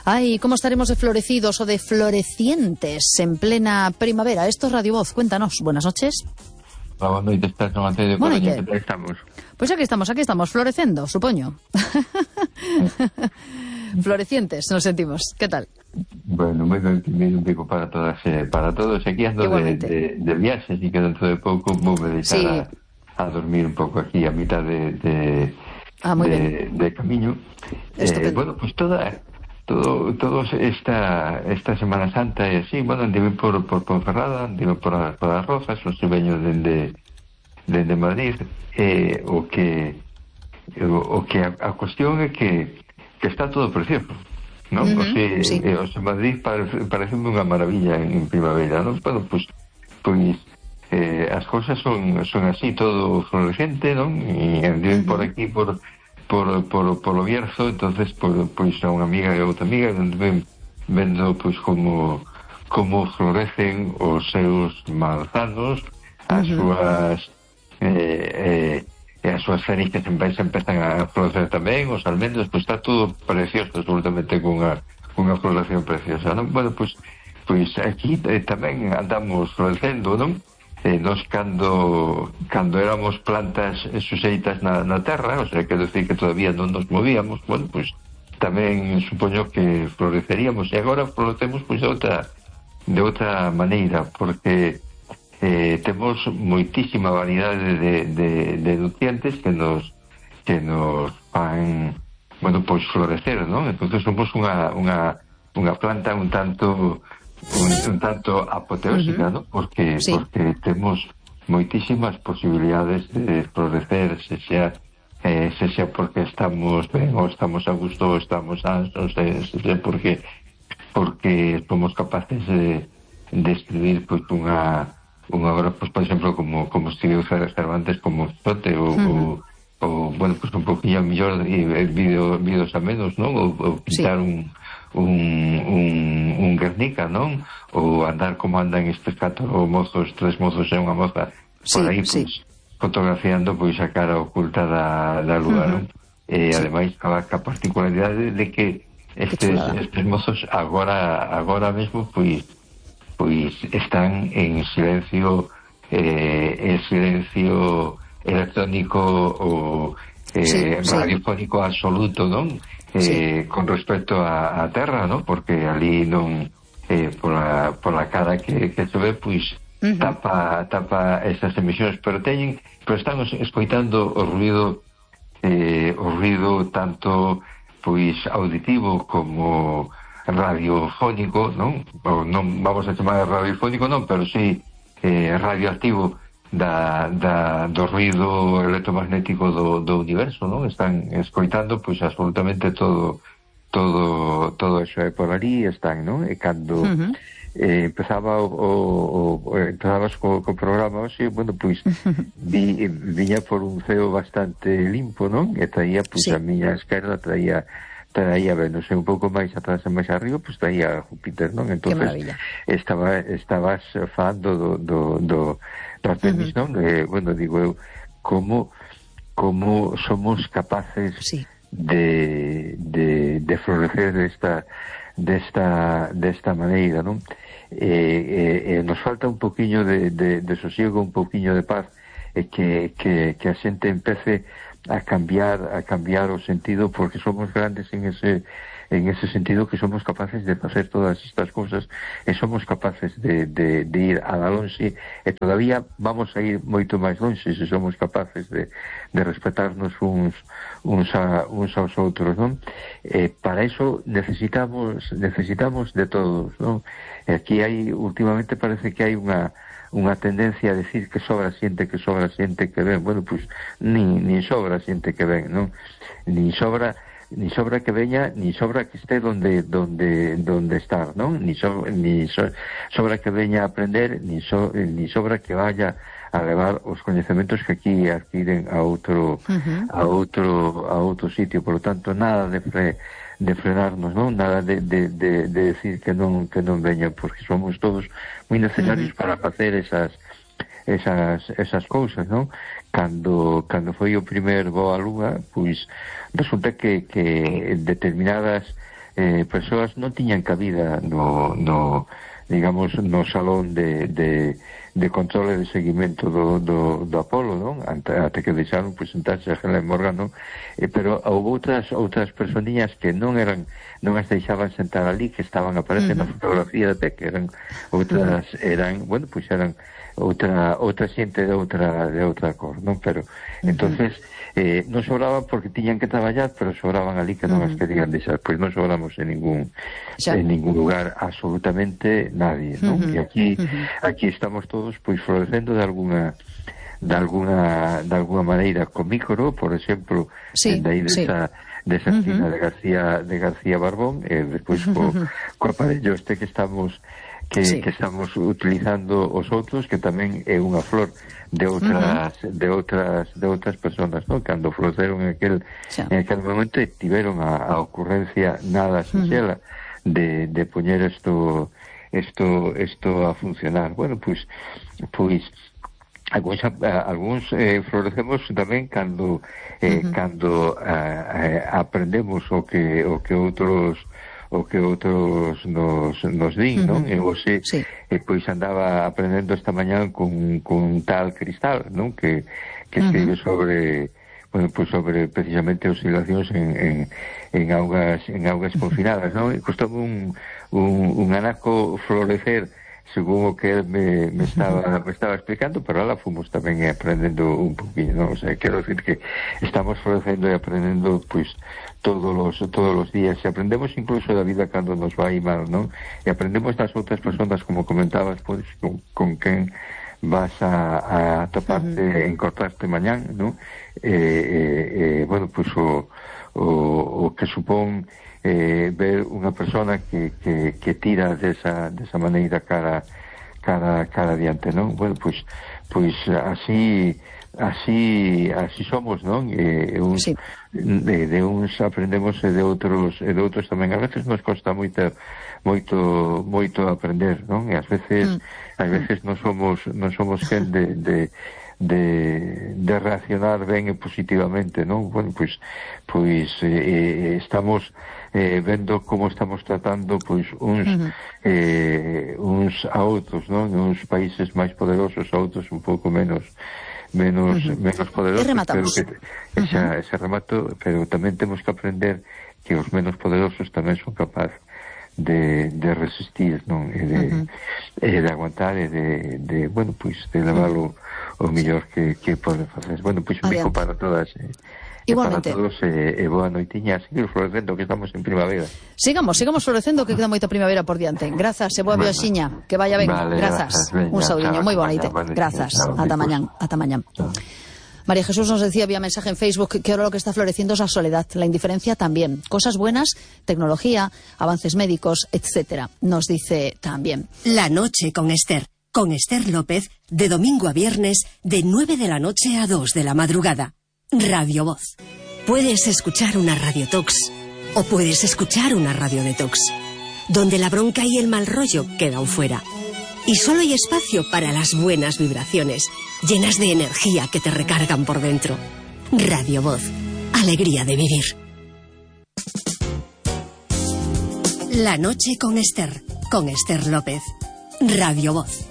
Ay, ¿cómo estaremos de florecidos o de florecientes en plena primavera? Esto es Radio Voz, cuéntanos. Buenas noches. Boa noite, estás no Mateiro de Coruña, que estamos? Pois aquí estamos, florecendo, supoño. Florecientes, nos sentimos. ¿Qué tal? Bueno, moi ben, un pico para todas, para todos. Aquí ando de viaxes e que dentro de pouco vou me deixar a dormir un pouco aquí a mitad de camiño. Bueno, pues todos esta Semana Santa e así, bueno, andive por Ponferrada, andive por as Rozas, os veño dende Madrid, o que a cuestión é que está todo precioso, non? O sea, Madrid parece unha maravilla en primavera, non? Bueno, pues as cousas son así, todo florecente, non? E andiven por aquí por o Bierzo, entonces pois a unha amiga e outra amiga vendo pois como florecen os seus manzanos, as súas cerezas empezan a florecer tamén, os almendros, pois está todo precioso, absolutamente cunha floración preciosa, non? Bueno, pois aquí tamén andamos florecendo, non? Nos cando éramos plantas suxeitas na terra, o sea, quero decir que todavía non nos movíamos, bueno, pois tamén supoño que floreceríamos, e agora florecemos pois de outra maneira, porque temos moitísima variedade de nutrientes que nos fan, bueno, pois florecer, non? Entonces somos unha planta un tanto apoteósica, ¿no? Porque temos moitísimas posibilidades de florecer, se xa porque estamos ben, ou estamos a gusto, ou estamos ansos, se xa porque somos capaces de escribir pois unha obra, pois, por exemplo, como escribiu Cervantes, como Quijote, ou bueno, pois un poquinho mellor vídeos a menos, non? Ou pintar un Guernica, non? Ou andar como andan estes 3 mozos e unha moza por aí, pois, fotografiando pois a cara oculta da lúa, non? E ademais a particularidade de que estes mozos agora mesmo pois están en silencio electrónico ou radiofónico absoluto, non? Con respecto a terra, non? Porque ali non pola cara que se ve, pois tapa esas emisións, pero están escoitando o ruido tanto pois auditivo como radiofónico, non? Ou non vamos a chamar radiofónico, non, pero sí radioactivo do ruido electromagnético do universo, non? Están escoitando pois absolutamente todo eso, e por ali están, non? E cando empezabas co programa hoxe, bueno, pois viña por un ceo bastante limpo, non? E traía, pois a miña esquerda traía Venus, e un pouco máis atrás e máis arriba, pois traía Júpiter, non? Entonces estabas falando do Artemis, non? Bueno, digo eu, como somos capaces de florecer desta maneira, non? Nos falta un poquinho de sosiego, un poquinho de paz, e que a xente empece a cambiar o sentido, porque somos grandes en ese sentido, que somos capaces de facer todas estas cousas, e somos capaces de ir a la lonxe, e todavía vamos a ir moito máis lonxe se somos capaces de respetarnos uns aos outros, non? Para eso necesitamos de todos, non? Aquí últimamente parece que hai unha tendencia a decir que sobra xente que ven. Bueno, pois nin sobra xente que ven, non? Nin sobra que veña, nin sobra que esté donde estar, non? Nin sobra que veña a aprender, nin sobra que vaya a levar os coñecementos que aquí adquiren a outro sitio. Por lo tanto, nada de frenarnos, non? Nada de decir que non veñan, porque somos todos moi necesarios para facer esas cousas, non? Cando foi o primer voo á Lúa, pois resulta que determinadas persoas non tiñan cabida no digamos, no salón de control e de seguimento do Apolo, non? Ate que deixaron presentarse a Helen Morgan, non? Pero houve outras personías que non as deixaban sentar ali, que estaban aparecendo na fotografía de que eran outra xente de outra cor, non? Pero entonces non sobraban porque tiñan que traballar, pero sobraban ali que non as querían deixar. Pois non sobramos en ningún lugar, absolutamente nadie, non? E aquí estamos todos pois florecendo de alguna maneira con Mícoro, por exemplo, dai desa esquina de García Barbón, e despois co aparello este que estamos utilizando os outros, que tamén é unha flor de outras personas, ¿no? Cando florearon en aquel momento tiveron a ocurrencia nada sinxela de poñer isto a funcionar. Bueno, pois algúns florecemos tamén cando aprendemos o que outros nos din, non? E hoxe pois andaba aprendendo esta mañá con tal Cristal, non? Que escribe sobre precisamente oscilacións en augas confinadas, non? E costaba un anaco florecer según o que él me estaba explicando, pero ahora fomos tamén aprendendo un poquinho, non? O sea, quero decir que estamos florecendo e aprendendo pois todos os días, e aprendemos incluso da vida cando nos vai mal, non? E aprendemos das outras persoas, como comentabas, pois con quen vas a toparte, encontrarte mañán, non? Bueno, pois o que supón ver unha persona que tira desa maneira cara adiante, non? Bueno, pois así somos, non? De uns aprendemos e de outros tamén. A veces nos costa moito aprender, non? E ás veces non somos quen de reaccionar ben e positivamente, non? Bueno, pois estamos vendo como estamos tratando pois uns a outros, non? Uns países máis poderosos, a outros un pouco menos poderosos, pero que ese remato, pero tamén temos que aprender que os menos poderosos tamén son capaces de resistir, non? E de aguantar e de bueno, pois de levar o mellor que poden facer. Bueno, pois un bico para todas igualmente. Para todos e boa noitiña, seguir florecendo que estamos en primavera. Sigamos florecendo que queda moita primavera por diante. Grazas e boa viaxiña, que vaya ben. Vale, grazas. Un saudiño moi bonito. Grazas. Ata mañán. María Jesús nos decía vía mensaje en Facebook que ahora lo que está floreciendo es la soledad, la indiferencia también. Cosas buenas, tecnología, avances médicos, etcétera. Nos dice también. La noche con Esther López, de domingo a viernes, de 9 de la noche a 2 de la madrugada. Radio Voz. Puedes escuchar una radiotox o puedes escuchar una radio detox, donde la bronca y el mal rollo quedan fuera. Y solo hay espacio para las buenas vibraciones, llenas de energía que te recargan por dentro. Radio Voz. Alegría de vivir. La noche con Esther López. Radio Voz.